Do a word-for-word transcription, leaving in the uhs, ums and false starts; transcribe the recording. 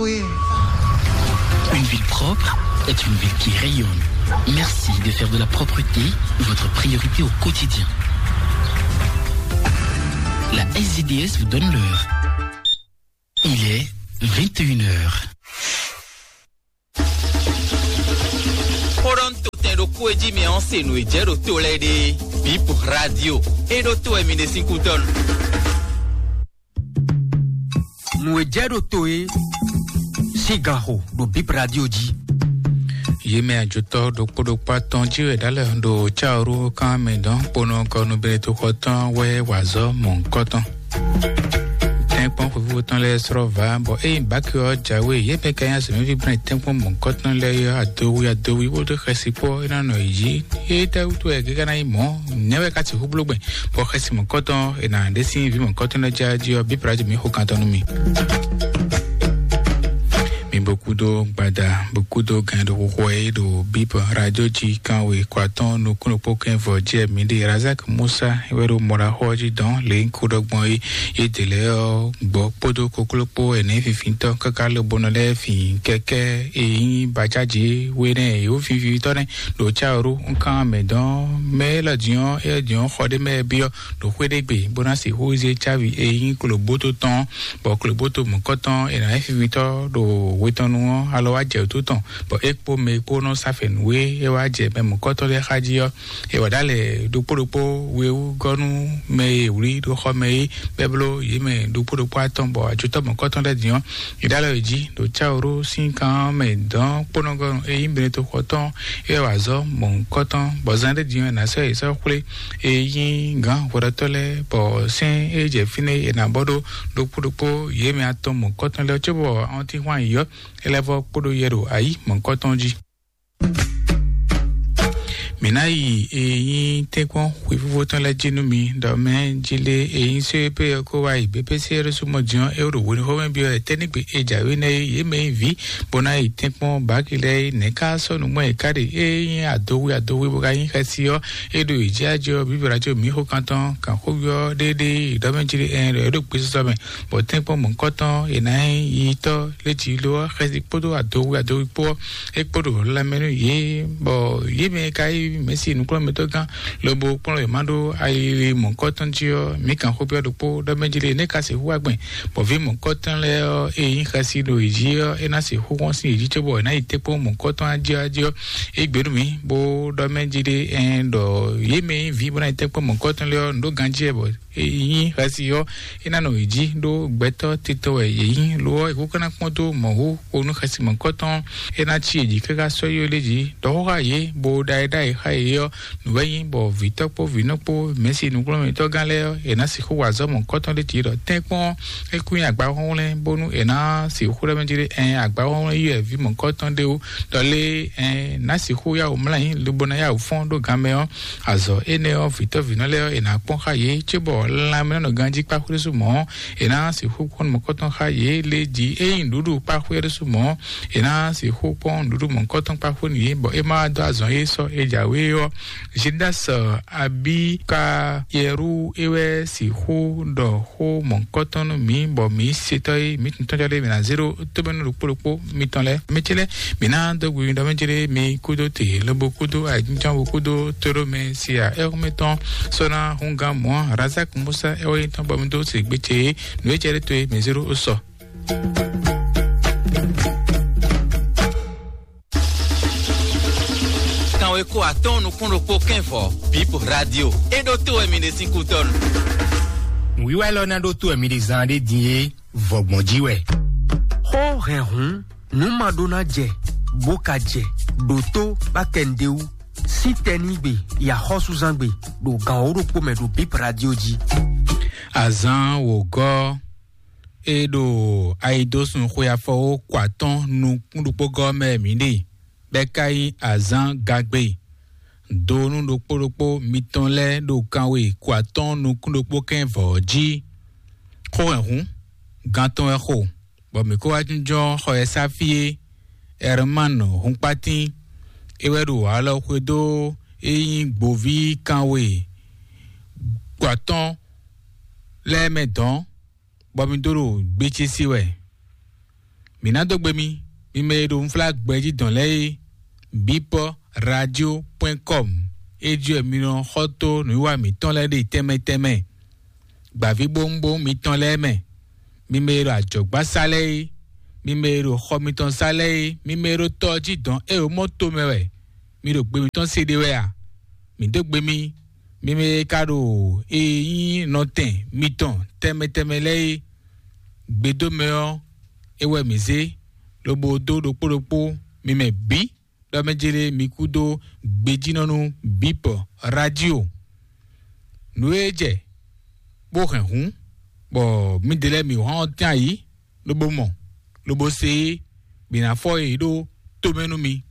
Une ville propre est une ville qui rayonne. Merci de faire de la propreté votre priorité au quotidien. La S D S vous donne l'heure. Il est vingt et une heures. Kpɔɖɔ ntotɛn ɖo kú e jí mi ɔ́ se nǔ e jɛ ɖo to lɛ́ɛ ɖe. Bip radio e ɖo to wɛ mi ɖe sín kútɔ́ nu. Nǔ e jɛ ɖo to e sín ganxo ɖo Bip Radio jí. Yě mɛ ajotɔ ɖokpó ɖokpó atɔn jí wɛ ɖálɛ ɖo cáwuru kán mɛ dɔn kponɔ kɔnu bɛlɛtoxɔ tɔn wɛ wazɔ mɔ̌hunkɔtɔn. Tɛ́nkpɔ́n xwefífó tɔn lɛ́ɛ srɔ́ vǎ, bɔ ényí báki ɔ́ jǎwe, yě mɛ ka nyí azɔ̌mɛví gblɛ́n tɛ́nkpɔ́n mɔ̌hunkɔtɔn lɛ́ɛ ɔ́, adowi adowi bó ɖó xɛsi kpó é ná nɔ yi jí. Étɛ́ wútu wɛ é ka ná nyí mɔ̌? Nɛ̌ wɛ é ka sixú bló gbɛn, bɔ xɛsi mɔ̌hunkɔtɔn è nǎ ɖe sín vǐ mɔ̌hunkɔtɔn lɛ́ɛ jí ɔ́, Bíp Radio mǐ xo kan tɔn nú mi. Mi bo kúdó gbada, bo kúdó gɛn ɖo xixo e ɖo Bíp Radio jí kan we kɔ atɔ́ɔ́n nukún ɖokpó kɛ́n vɔ jɛ mi ɖe Razak Musa é wɛ ɖo mɔɖaxó ɔ́ jí dɔn lě ko ɖɔ gbɔn é. Yě dě lɛ́ɛ ɔ́ gbɔ kpódó kokló kpó ɛnɛ fifitɔ́ káká lobonɔ lɛ́ɛ fin kɛkɛ́ e nyí bajájí we nɛ́ e wǒ fifitɔ́ nɛ́ ɖo cáwuru nkan mɛ dɔn mɛ élɔ́ din ɔ́, élɔ́ din ɔ́ xɔ ɖé mɛ byɔ́ ɖo xwé ɖé gbe bó ná sixú zé cávi e nyí klobóto tɔn, bɔ klobóto mɔ̌kɔtɔn è nǎ nyí fifitɔ́ ɖo we tɔn nu ɔ́, alɔ wá jɛ wǔtu tɔn, bɔ é kpó mɛ e kpó nɔ sá fɛ̌n nú é, é wá jɛ mɛ mɔ̌kɔtɔn lɛ́ɛ xá jí ɔ́, è wǎ ɖa lɛ ɖokpó ɖokpó we wú gɔ́ nú mɛ e wlí ɖo xɔ mɛ é, bɔ é bló yě mɛ ɖokpó ɖokpó atɔn, bɔ ajotɔ́ mɔ̌kɔtɔn lɛ́ɛ din ɔ́, è ɖa lɛ yě jí ɖo cáwuru sín kan ɔ́ mɛ dɔn kpónɔgɔ́ e nyí Benetoxɔ tɔn é wɛ wá zɔ́ mɔ̌hunkɔtɔn, bɔ zán ɖé din ɔ́, è nǎ sɔ́ yě sɔ́ xwlé e nyí gǎn hwɛɖɔtɔ́ lɛ́ɛ, bɔ sɛ́n e jɛ fínɛ́ è nǎ bɔ ɖó ɖokpó ɖokpó yě mɛ atɔn mɔ̌hunkɔtɔn lɛ́ɛ cóbɔ awɔntín hwan yǐyɔ́ é lɛ́ vɔ kpódó yɛ ɖo ayǐ mɔ̌hunkɔtɔn jí. Mǐ ná yi e nyí tɛ́nkpɔ́n xwefífó tɔn lɛ́ɛ jí nú mi, ɖɔ mɛ jí lé e nyí só e pé ɔ́ kó wá yi bépési ɔ́ ɖésú mɔ din ɔ́, é ɖo hwenɛ́xɔmɛ byɔ́ wɛ tɛ́ nígbe e jǎwe nɛ́ é, yě mɛ nyí vǐ bó ná yi tɛ́nkpɔ́n bǎki lɛ́ɛ é, nɛ̌ ká sɔ́ nǔ gbɔn è ká ɖe? É nyí adowi adowi bó ka nyí xɛsi ɔ́, é ɖo yě jí ajɔ bíbélà có mǐ xó kan tɔn kan xó byɔ́ ɖéɖé ɖɔ mɛ jí lé ɛn ɖɔ é ɖo gbesisɔ mɛ, bɔ tɛ́nkpɔ́n mɔ̌hunkɔtɔn è nǎ nyí yitɔ́ lé jí lo ɔ́, xɛsi kpódó adowi adowi kpó ɔ́, é kpó ɖo lanmɛ nú yě, bɔ yě mɛ e ka nyí Mɛ̌si nǔkplɔ́nmɛtɔ́gán lobo kplɔ́n yě ma ɖó ayili mɔ̌hunkɔtɔn jí ɔ́, mǐ kan xó byɔ́ ɖokpó ɖɔ mɛ jí lé nɛ́ ka sixú wá gbɛn, bɔ vǐ mɔ̌hunkɔtɔn lɛ́ɛ ɔ́, e nyí xɛsi ɖo yě jí ɔ́, é ná sixú hɔn sín yě jí cóbɔ è nǎ yi tɛ́nkpɔ́n mɔ̌hunkɔtɔn jí ɔ́ jí ɔ́, é gbě nú mǐ, bó ɖɔ mɛ jí ɖé ɛn ɖɔ yě mɛ nyí vǐ bó ná yi tɛ́nkpɔ́n mɔ̌hunkɔtɔn lɛ́ɛ ɔ́, nǔ ɖó ganjí wɛ bɔ e nyí xɛsi ɔ́, é ná nɔ yě jí ɖó gbɛtɔ́ titɔ wɛ yě nyí. Lo ɔ́, è ko ka ná kpɔ́n dó mɔ̌ wú xo nú xɛsi mɔ̌hunkɔtɔn, é ná cí yě jí káká sɔ́ yi lé jí ɖɔ xó xá yě, bó ɖa é ɖ'ayǐ xá yě ɔ́, nǔ wɛ nyí bɔ vǐtɔ́ kpó vǐnɔ kpó mɛ̌si nǔkplɔ́nmɛtɔ́gán lɛ́ɛ ɔ́, è nǎ sixú wa azɔ̌ mɔ̌hunkɔtɔn ɖé jí ɖɔ tɛ́nkpɔ́n é kún nyi agbahɔ́nwlɛ́n bónú è nǎ sixú ɖɔ mɛ jí ɖé ɛn agbahɔ́nwlɛ́n yi wɛ vǐ mɔ̌hunkɔtɔn ɖé wú, ɖɔ lé ɛn nǎ sixú yá wǔ mlá yín lobo ná yá wǔ fɔ́n ɖó ganmɛ ɔ́, azɔ̌ énɛ́ ɔ́, vǐtɔ́ vǐnɔ lɛ́ɛ ɔ́, è nǎ kpɔ́n xá yě, cóbɔ lanmɛ nɔ ganjí kpá xwé ɖésú mɔ̌ ɔ́, è nǎ sixú kpɔ́n nukɔntɔn xá yě lé jí. Ényí nǔɖuɖu kpá xwé ɖésú mɔ̌ ɔ́, è nǎ sixú kpɔ́n nǔɖuɖu mɔ̌hunkɔtɔn kpá xwé nú yě, bɔ é ma wá dó azɔn e sɔ́ é jǎwe é ɔ́. Zindas abí ka yɛrú é wɛ sixú ɖɔ xó mɔ̌hunkɔtɔn nú mǐ, bɔ mǐ setɔ́ e mǐ tɔn tɔ́jɔ́ ɖé mǐ ná zé ɖó tómɛnú ɖokpó ɖokpó mitɔn lɛ́ɛ. Mɛ ce lɛ́ɛ, mǐ ná dó gbe mi ɖɔ mɛ ce lɛ́ɛ mi kúdó te lobo kúdó ayǐjínjɔ́n bo kúdó tóɖó mɛ si a ɛ́xɔ́mɛ tɔn sɔ́ ná húngán mɔ̌ Razak Musa ɛ́ wɛ nyí tɔn bɔ mi dó se gbé ce é, nǔ e jɛ ɖé towe mǐ zé ɖó sɔ. Kanwe ko atɔ́ɔ́n nukún ɖokpó kɛ́n vɔ Bip Radio. É ɖó tó wɛ mi ɖe sín kútɔ́nu. Nǔwiwa élɔ́ ná ɖó tó wɛ mi ɖe zán ɖé din é, vɔgbɔn jí wɛ. Xó hɛn hǔn, nǔ ma ɖó ná jɛ, bó ka jɛ, ɖo tó bá kɛ nǔɖé wú, sín tɛnígbe, yi axɔ́súzángbe, ɖo gan wǒ ɖokpó mɛ ɖo Bip Radio jí. Azǎn wǒgɔ́ e ɖo ayidósun xwe afɔwó kɔ atɔ́ɔ́n nukún ɖokpó gɔ́ mɛ mǐ ɖe, bɔ é ka nyí azǎn gagbe. Donu ɖokpó ɖokpó mitɔn lɛ́ɛ ɖo kanwe kɔ atɔ́ɔ́n nukún ɖokpó kɛ́n vɔ̌ jí. Xó hɛn hǔn, gan tɔn wɛ xo, bɔ mǐ kó wá jínjɔ́n xɔ e sá fí é. Ɛrmán Hunkpatín, é wɛ ɖo alɔ xwedó e nyí gboví kanwe kɔ atɔ́ɔ́n lɛ́ɛ mɛ dɔ̌n, bɔ mi dó ɖo gbécí sí wɛ. Mǐ ná dó gbe mi, mi mɛ e ɖo unflágbɛjí dɔn lɛ́ɛ é, bipɔ radio point com. É jí wɛ mi nɔ xɔ tó nǔwiwa mǐtɔn lɛ́ɛ ɖe tɛnmɛ tɛnmɛ. Gbǎvíbówúnbówún mitɔn lɛ́ɛ mɛ, mi mɛ e ɖo ajɔ̌gbásá lɛ́ɛ é, mi mɛ e ɖo xɔ mitɔn sá lɛ́ɛ é, mi mɛ e ɖo tɔ jí dɔn é ɖo mɔto mɛ wɛ, mi ɖo gbe mitɔn se ɖe wɛ a? Mǐ dó gbe mi, mi mɛ e ka ɖo e nyí nɔtɛn mitɔn tɛnmɛ tɛnmɛ lɛ́ɛ é. Gbedómɛ ɔ́, é wɛ mǐ zé, lobo dó ɖokpó ɖokpó mi mɛ bǐ, ɖɔ mɛ jélé mi kú dó gbejínɔ́ nú bípɔ radio. Nǔ e jɛ bó hɛn hǔn, bɔ mǐdɛɛ lɛ́ɛ mǐ hɔn ɔ́ tɛ́n ayǐ, lobo mɔ, lobo se é, bǐ ná fɔ yě ɖó tomɛ nú mi.